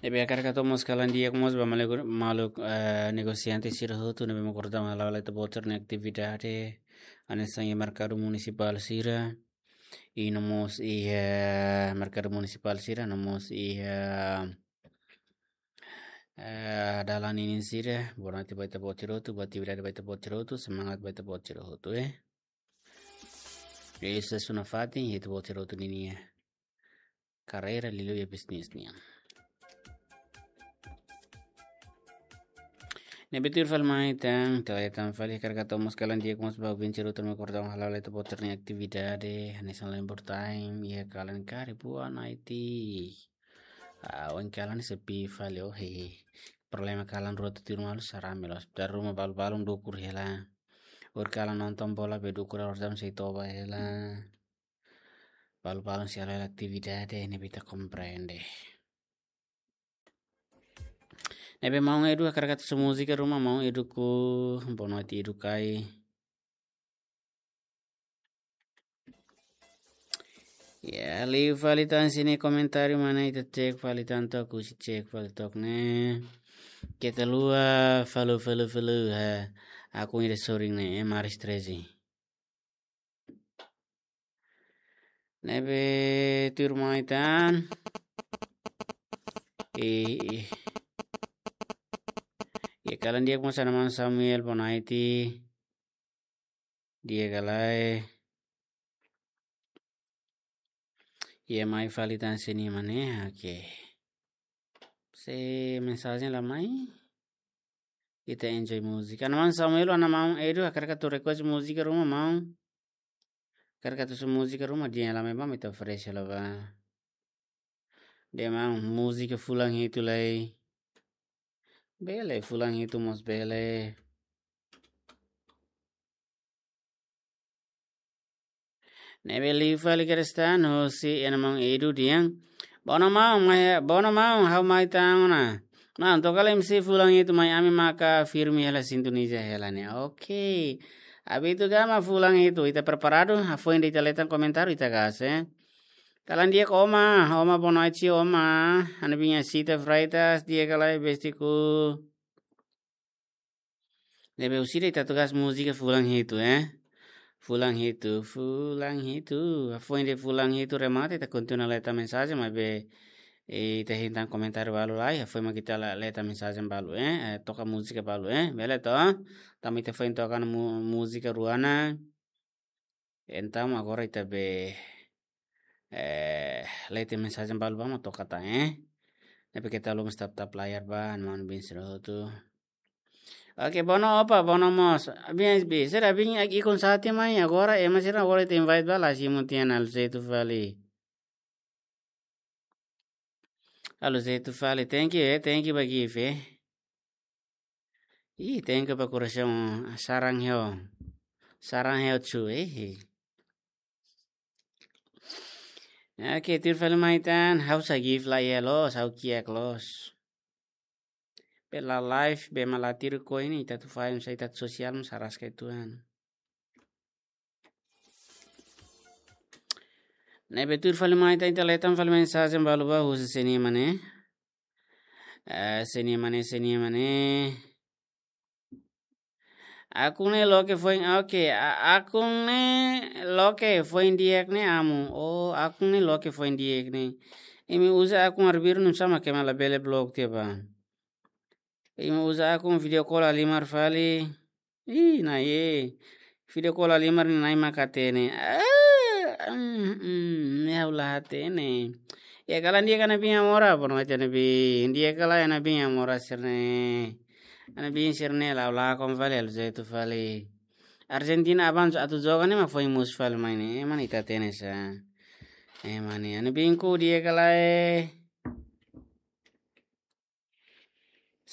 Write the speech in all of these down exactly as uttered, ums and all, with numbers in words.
Ne'ebé hakarak hato'o mós kalan di'ak mós ba maluk, maluk, eh, negosiante sira hotu ne'ebé mak kordau hala'o ita-boot sira-nia atividade, hanesan iha merkadu munisipál sira, i no mós iha merkadu munisipál sira, no mós iha, eh, dalan ninin sira, boa noite ba ita-boot sira hotu, boa atividade ba ita-boot sira hotu, semangat ba ita-boot sira hotu, eh. Esa sunafatin, ita-boot sira hotu ninia karreira liuliu iha bisnis nian. Ne'ebé tuir fali mai tan, ita leten fali hakarak hato'o mós kalan di'ak mós ba ouvinte sira hotu ne'ebé mak kordau hala'o ita-boot sira-nia atividade, hanesan lembur time, iha kalan kari buan aiti. Ah, ohin kalan sepi fali, oh, hehe. Problema kalan rua tutuir malu sarame loos. Dari ruma balu-balun dukur hela. Ohin kalan nonton bola be dukur aordam sei toba hela. Balu-balun sei halo hela atividade ne'ebé ita komprende. Ne'ebé maun Edu hakarak hato'o múzika ruma, maun Eduku, boa noite Edukai. Ya, liu fali tan sira-nia komentáriu mana ita cek fali tan took, husi cek fali took ne'e. Keta haluha follow, follow, follow, ha. Akun ida sorin ne'e, eh, Maris treze. Ne'ebé tuir mai tan. Eh, eh. Ya, kalan di'ak mós ba maun Samuel, boa noite. Di'ak ka lae. Ya, mai fali tan sira-nia mane, oke. Se mensajen la mai. Ita enjoy múzika. Ana maun Samuel, ana maun Edu, hakarak atu request múzika ruma maun. Hakarak atu husu múzika ruma, dehan la mai ba, ita oferese la ba. Dehan maun, múzika fulan hitu lai. Bele, fulan hitu mós bele. Ne'ebé liu fali Kristan, husi ana maun Edu dehan. Bono maun, mai, bono maun, ha'u mai tan ona. Maun, toka lai M C fulan hitu mai ami maka firme hela sintoniza hela ne'e. Oke. Abitu gama fulan hitu, ita preparadu, hafoin de'it ita leten komentáriu ita gas, eh. Kalan di'ak Oma, Oma boa noite Oma, ana biin Sita Freitas, di'ak ka lae bestiku. Ne'ebé husi ida ita tugas múzika fulan hitu, eh. Fulan hitu, fulan hitu. Hafoin de'it fulan hitu remata, ita kontinua leten mensajen, maibé, eh, ita hein tan komentáriu balu lai, hafoin mak ita la-, leten mensajen balu, eh. Eh, toka múzika balu, eh. Bele to? Tanba ita foin toka ona mu-, múzika rua ona. Entaun agora ita be, eh, leten mensajen balu ba mak toka tan, eh. Ne'ebé keta haluha mós tap-tap layar ba, ana maun biin sira hotu. Oke, bono opa, bono mós. Biin, biin, sira biin ak-, ikun sati mai, agora, ema sira agora ita invite ba la simu tiha ona, Alzeto fali. Alzeto fali, thank you, eh, thank you ba gift, eh. Ih, thank you ba korasaun, sarang heo. Sarang heo chu, eh. Oke, tuir fali mai tan, ha'u sa gift la iha loos, ha'u kiak loos. Be la live, be mak la tiru koin, ita atu fahe, sa ita atu sosial, mós araska uitoan. Ne'ebé tuir fali mai tan, ita leten fali mensajen balu ba husi sira-nia mane. Eh, sira-nia mane, sira-nia mane. Akun ne'e loke foin, oke, a-, akun ne'e loke foin di'ak ne'e amu. Oh, akun ne'e loke foin di'ak ne'e. Imi uza akun arbiru nusá mak ema labele block tiha ba. Imi uza akun video call halimar fali. Ih, Na'i. Video call halimar ne'e Na'i mak hatene. Ah, mm, mm, ne'e ha'u la hatene. Ya, kalan di'ak ka ana biin Amora, bono ita ana biin. Di'ak ka lae ana biin Amora sira-ne'e. Ana biin sira-ne'e la, la kon fali Alzeto fali. Argentina aban atu joga ne'e mak foin mosu fali mai ne'e. Ema ne'e ita hatene sa. Ema ne'e. Ana biinku di'ak ka lae.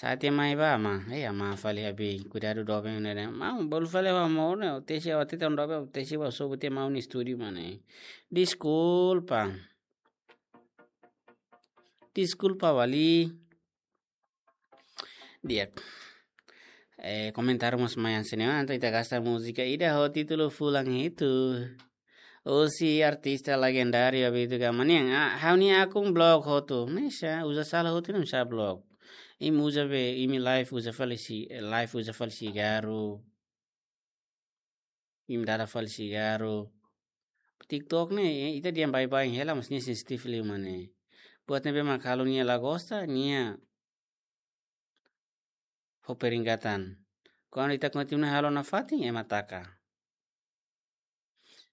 Sati mai ba, ma. Eh, ama fali abi. Kuidadu doben ne'e. Ma, bolu fali ba mo ne. Tesi awati tan doben, tesi ba sobu te mau ni studio mane. Deskulpa. Deskulpa wali. Di'ak. Eh, komentáriu mós mai hanesan ne'e, entaun ita gasta múzika ida ho títulu Fulan Hitu. Husi artista legendáriu Abílio Gama nian. Ah, ha'u-nia akun blok hotu. Hanesan, uza sala hotu ne'e hanesan blok. Imi uza be, imi live uza fali si, live uza fali sigarru. Imi dada fali sigarru. TikTok ne'e, eh, ita dehan baibain hela, mas nia sensitif liu mak ne'e. Buat ne'ebé mak halo nia la gosta, nia fó peringatan. Kuandu ita kontinua halo nafatin, ema taka.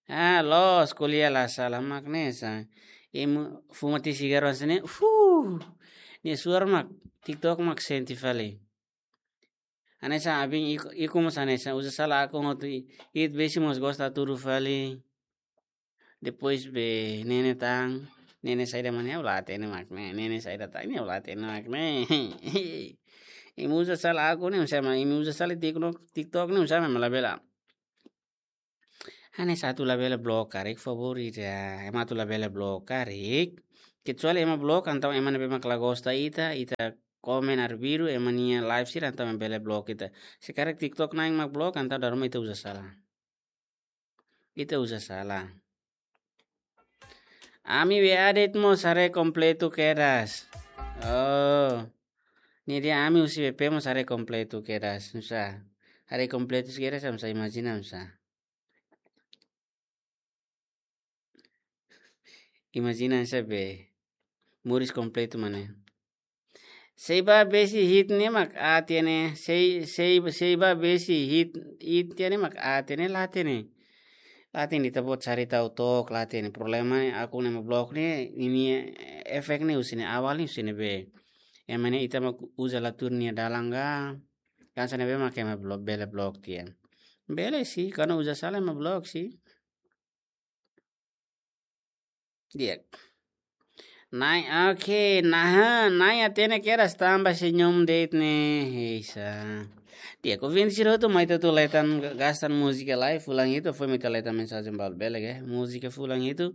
Ah, loos, ko'alia la sala mak hanesan. Imi fuma tiha sigarru hanesan ne'e, fuh. Nia suar mak, TikTok mak sente fali. Hanesan abin iku, iku mós hanesan uza sala akun hotu i, it besi mós gosta tudu fali. Depois be nene tan, nene saida mak ne'e, ha'u la hatene mak ne'e, nene saida tan, ha'u la hatene mak ne'e. Imi uza sala akun ne'e, hanesan mak, imi uza sala TikTok, TikTok ne'e, hanesan mak labele. Hanesan atu labele blok karik, favór ida. Ema atu labele blok karik. Kecuali ema blok, entaun ema ne'ebé mak la gosta ita, ita komen arbiru, ema nia live sira, entaun ema bele blok ita. Se karik TikTok na'in mak blok, entaun dala ruma ita uza sala. Ita uza sala. Ami W A de'it mós haree kompletu kedas. Oh. Ne'e dehan ami husi W P mós haree kompletu kedas. Hanesan. Haree kompletu kedas, hanesan imajina hanesan. Imajina hanesan be. Moris kompletu mak ne'e. Sei ba besi hit ne'e mak aat iha ne'e, sei, sei, sei ba besi hit, hit iha ne'e mak aat iha ne'e, la hatene. La hatene ita-boot sari tau took, la hatene. Problema akun ne'e ema blok ne'e, ninia efek ne'e husi ne'e, awal ne'e husi ne'ebé. Ema ne'e ita mak uza la tuur nia dalan ka, hanesan ne'ebé mak ema blo-, bele blok tiha. Bele sih, kuandu uza sala ema blok sih. Di'ak. Nai, oke, nah, nai hatene kedas tanba senyum de'it ne'e, heisa. Di'ak, ouvinte sira hotu, mai ita atu leten ga-, gastan múzika lai, fulan hitu, foin mai ita leten mensajen balu, bele ka? Múzika fulan hitu,